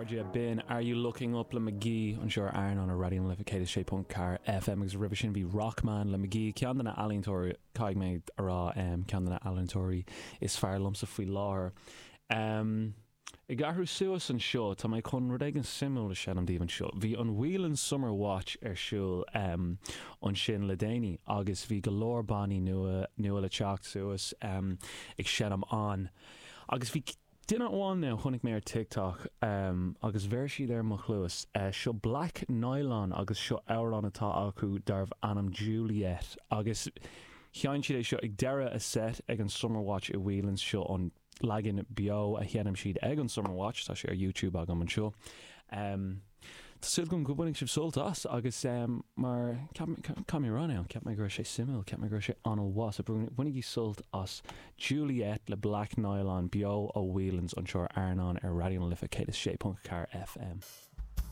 chairde, b'in Are You Looking Up le Mk.gee anseo ar Airneán ar Raidió na Life 106.4 FM agus roimhe sin bhí Rockman le Mk.gee, ceann de na ealaíontóirí, caithfidh mé a rá, ceann de na ealaíontóirí is fearr liomsa faoi láthair. Ag athrú suas anseo, tá mé chun rud éigin suimiúil a sheinm daoibh anseo. Bhí an Whelan's Summer Watch ar siúl ansin le déanaí agus bhí go leor bannaí nua nua le teacht suas ag seinm ann agus bhí Duine amháin now, chonaic mé ar TikTok agus bheir siad ar mo chluas. Seo Black Nylon agus seo amhrán atá acu darbh ainm Juliet agus sheinn siad é seo ag deireadh a set ag an Summer Watch i Whelan's. Seo an leagan beo a sheinm siad ag an Summer Watch, tá sé ar YouTube agam anseo. Tá súil agam go mbainfidh sibh sult as agus mar, caithfidh mé a rá now, cheap mé go raibh sé suimiúil, cheap mé go raibh sé an-mhaith, so bainigí sult as Juliet le Black Nylon beo ó Whelan's anseo ar Airneán ar Raidió na Life 106.4 FM.